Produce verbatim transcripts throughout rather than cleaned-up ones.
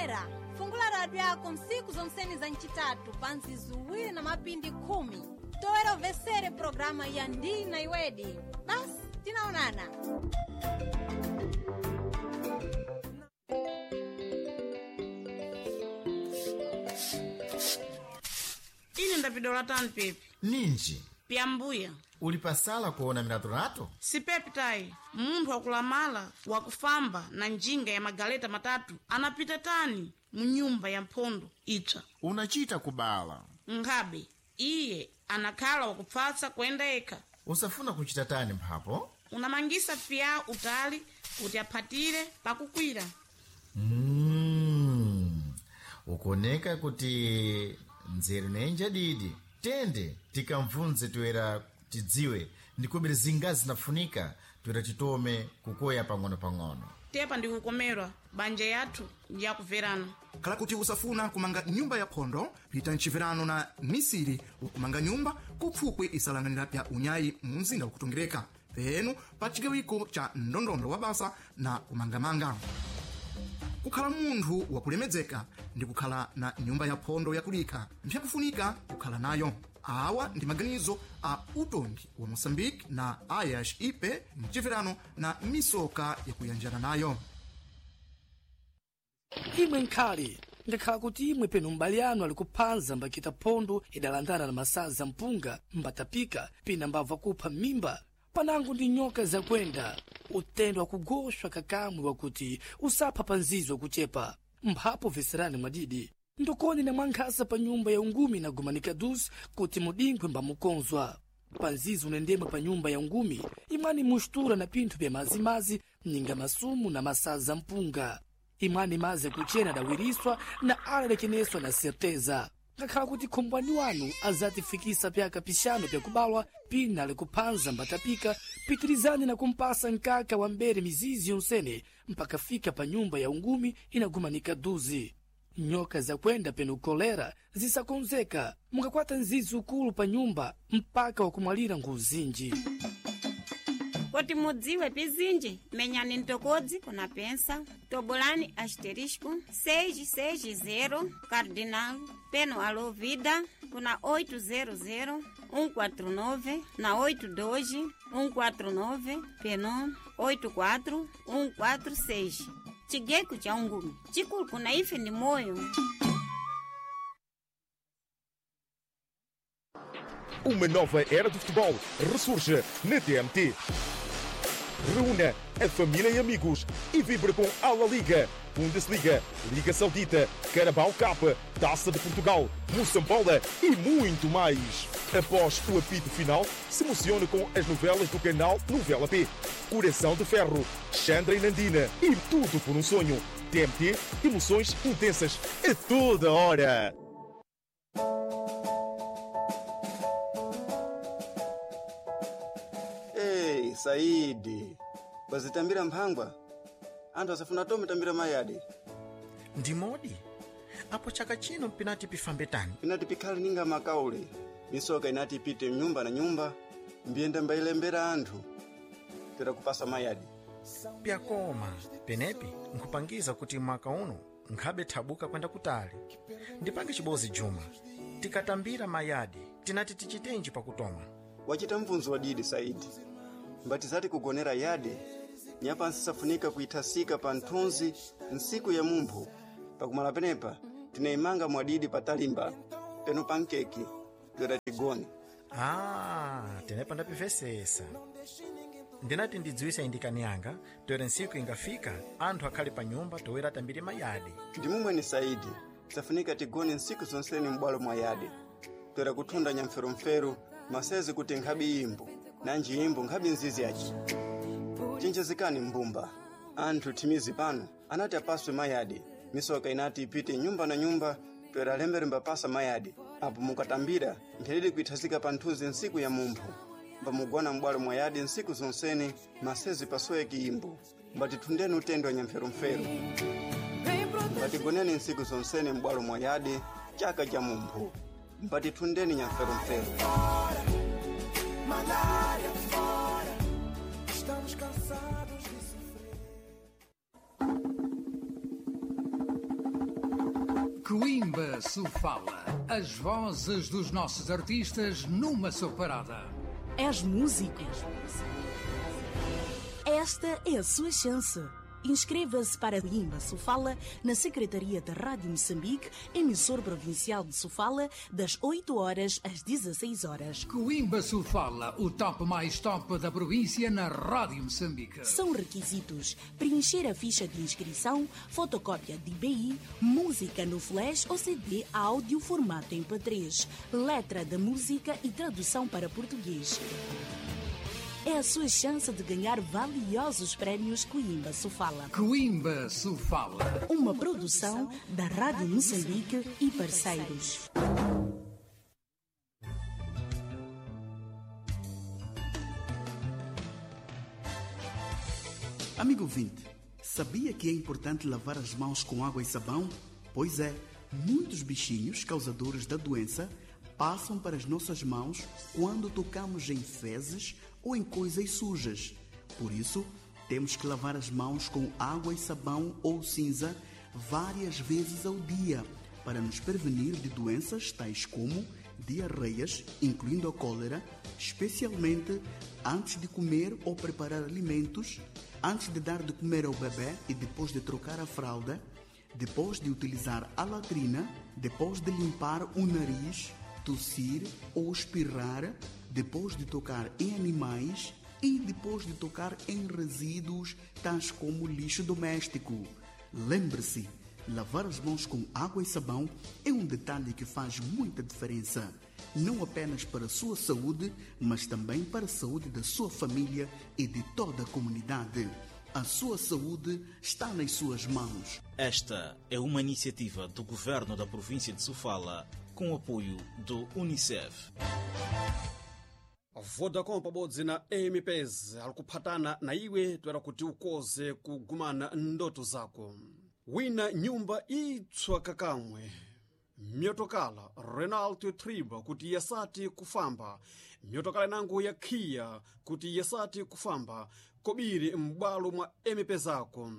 Omvera, fungula radio yako msiku zonseni za ncitatu pa nzizuwiri na mapindi khumi toera ubvesere programa ya Ndina Iwedi. Basi tinaonana. Ine ndapidola tani pepi. Ninji? Pyambuya. Uli pasala kuona milatolato? Sipepi tayi, munthu wakulamala wakufamba na njinga ya magaleta matatu anapita tani mu nyumba ya mphondo ipsa. Unachita kubala. Nkhabe iye anakhala wakupfatsa kuyenda yekha. Usafuna kuchita tani mphapo? Unamangisa piya utali kuti aphatire pakukwira. Mm. Ukoneka kuti nzeru nenja didi. Tende tikamvunze toera tidziwe ndikubiri zingazi zinafunika toera titome kukoya pang'ono-pang'ono. Tepa ndikukomerwa banja yathu ndiyakuverana. Khala kuti usafuna kumanga nyumba ya phondo, pita mchiverano na misiri wakumanga nyumba kupfupwi isalanganira pya unyayi mu mzinda wakutongereka penu pa chigawiko cha ndondondo wa basa na kumangamanga. Kukhala munthu wakulemedzeka ndi kukhala na nyumba ya phondo yakulikha mpyakufunika kukhala nayo. Awa ndi maganizo a utongi wa Moçambique na Ayash Ipe mchiverano na misoka yakuyanjana nayo. Imwe nkhali ngakhala kuti imwe penu m'bale anu ali kuphanza mbakita phondo idalandana na masaza mpunga mbatapika pina mbabva kupha m'mimba panango ndi nyoka zakwenda utendo wakugoshwa kakamwe wakuti usapha pa nzizo kuchepa mphapo veserani mwadidi ndokoni na mwankhasa pa nyumba ya ungumi na gumanika dus kuti mudinkwe mbamukonzwa panzizo unendemwe pa nyumba ya ungumi imwani mustura na pinthu pya mazimazi mninga masumu na masaza mpunga imwani maze kuchena adawiriswa na alalekeneswa na certeza ngakhala kuti khombwani wanu azatifikisa pyaka pixanu pyakubalwa pina likuphanza mbatapika pitirizani na kumpasa nkaka wa mbere mizizi yonsene mpaka fika pa nyumba ya ungumi inagumanika duzi. Nyoka zakwenda penu kolera zisakonzeka mukakwata nzizi ukulu pa nyumba mpaka wakumwalira nguzinji. Kuti mudziwe pizinji, menyani ntokodzi kuna pensa tobolani asterisco seis seis zero cardinal peno alo vida kuna oito zero zero um quatro nove na oito dois um quatro nove peno oito quatro um quatro seis. Chigeku cha ungumi chikulu kuna ife ndi moyo. Uma nova era do futebol ressurge na T M T. Reúna a família e amigos e vibre com a La Liga, Bundesliga, Liga Saudita, Carabao Cup, Taça de Portugal, Moçambola e muito mais. Após o apito final, se emocione com as novelas do canal Novela P. Coração de Ferro, Chandra e Nandina e Tudo por um Sonho. T M T, emoções intensas a toda hora. Ei, Saidi, wazitambira mphangwa anthu asafuna tome tambira mayadi. Ndimodi apo chaka chino pinati pifambe tani? Pinati pikhale ninga makaule misoka inati ipite nyumba na nyumba mbiyenda mbayilembera anthu tera kupasa mayadi. Pyakoma penepi nkhupangiza kuti mwaka uno nkhabe thabuka kwenda kutali. Ndipange chibozi Juma, tikatambira mayadi tinati tichitenji pakutoma? Wachita mvunzo wadidi, Saidi. Mbati zati kugonera yade nyapansi safunika kuithasika pa nthunzi nsiku ya mumphu pakumala penepa tinayimanga mwadidi patalimba peno pa nkeke toera tigone. Ah, tenepa ndapivesesa. Ndinati ndidziwise indikani yanga toera ntsiku ingafika anthu akhale pa nyumba toera tambire mayadi. Ndimumweni Saidi, safunika tigone nsiku zonseni m'bwalo mwa yade toera kuthunda nyamferumferu masezi kuti nkhabi imbo nanji imbo nkhabi nzizi yaci. Chenjezekani mbumba anthu thimizi pano anati apaswe mayadi misoka inati ipite nyumba na nyumba toera lemberemba pasa mayadi apo mukatambira mpherere kuithasika pa nthunzi nsiku ya mumphu mbamugona m'bwalo mwa yadi nsiku zonsene masezi pasoweki imbo mbatithundeni utendo wa nyamferumferu mbatigoneni nsiku zonsene m'bwalo mwa yadi chaka cha mumphu mbatithundeni nyamferumferu. Estamos cansados de sofrer. Coimba Sofala. As vozes dos nossos artistas numa só parada. És músico? Esta é a sua chance. Inscreva-se para Imba Sofala na Secretaria da Rádio Moçambique, emissor provincial de Sofala, das oito horas às dezasseis horas. Coimba Sofala, o top mais top da província na Rádio Moçambique. São requisitos: preencher a ficha de inscrição, fotocópia de B I, música no flash ou C D áudio formato M P três, letra da música e tradução para português. É a sua chance de ganhar valiosos prémios Coimba Sofala. Coimba Sofala. Uma produção da Rádio Moçambique e parceiros. Amigo ouvinte, sabia que é importante lavar as mãos com água e sabão? Pois é, muitos bichinhos causadores da doença passam para as nossas mãos quando tocamos em fezes ou em coisas sujas. Por isso, temos que lavar as mãos com água e sabão ou cinza várias vezes ao dia para nos prevenir de doenças tais como diarreias, incluindo a cólera, especialmente antes de comer ou preparar alimentos, antes de dar de comer ao bebê e depois de trocar a fralda, depois de utilizar a latrina, depois de limpar o nariz, tossir ou espirrar, depois de tocar em animais e depois de tocar em resíduos tais como lixo doméstico. Lembre-se, lavar as mãos com água e sabão é um detalhe que faz muita diferença, não apenas para a sua saúde, mas também para a saúde da sua família e de toda a comunidade. A sua saúde está nas suas mãos. Esta é uma iniciativa do governo da província de Sofala, com o apoio do Unicef. Vodacom pabodzi na M-Pesa alikuphatana na iwe toera kuti ukoze kugumana ndoto zako. Wina nyumba itswa kakamwe myotokala Renault Triber kuti yasati kufamba, myotokala inango ya Kia kuti yasati kufamba, kobiri m'bwalo mwa M-Pesako.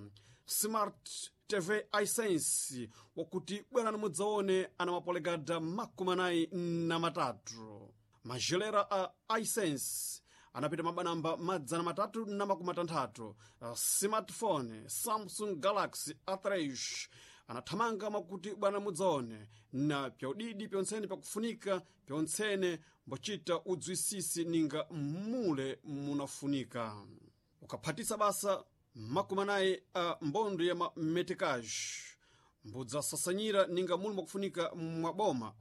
Smart T V iSense wakuti bwerani mudzaone ana mapolegada makumi anayi na matatu. Majelera a iSense anapita mabanamba madzana matatu na makumi atanthatu. Smartphone Samsung Galaxy A three anathamanga makuti bwana mudzaone na pyaudidi pyontsene pakufunika pyontsene mbochita udzwisisi ninga mule munafunika. Ukaphatisa basa makumi anayi a mbondo ya mametekaji mbudzasasanyira ninga muli mwakufunika mwaboma.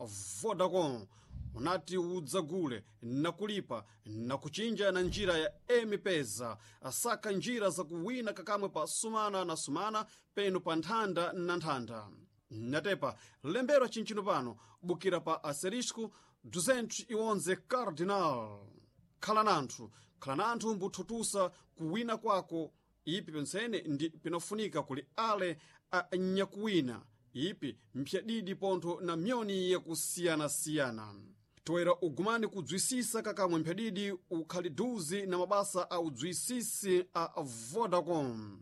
Vodacom unati udzagule nakulipa nakuchinja na njira ya M-Pesa. Asaka njira zakuwina kakamwe pa sumana na sumana penu pa nthanda na nthanda. Natepa lembera chinchino pano bukira pa asterisco duzentos e onze cardinal. Khala nanthu, khala nanthu mbuthutusa kuwina kwako. Ipi pensene ndi pinafunika kuli ale anyakuwina ipi mpyadidi pontho na myoni yakusiyanasiyana. Toera ugumani kudzwisisa kakamwe mpyadidi ukhali duzi na mabasa a udzwisisi a Vodacom.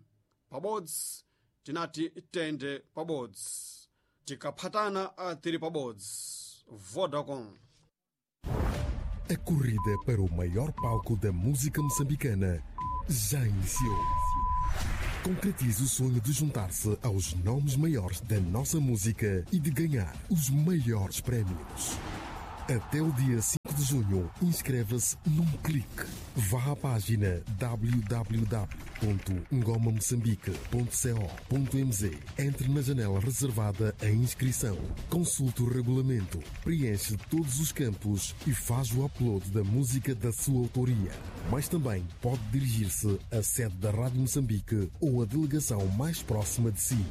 Pabodzi tinati tende pabodzi, tikaphatana tiri pabodzi. Vodacom. A corrida para o maior palco da música moçambicana já iniciou. Concretize o sonho de juntar-se aos nomes maiores da nossa música e de ganhar os maiores prémios. Até o dia cinco de junho, inscreva-se num clique. Vá à página w w w ponto ngoma moçambique ponto co ponto m z. Entre na janela reservada à inscrição. Consulte o regulamento, preenche todos os campos e faz o upload da música da sua autoria. Mas também pode dirigir-se à sede da Rádio Moçambique ou à delegação mais próxima de si.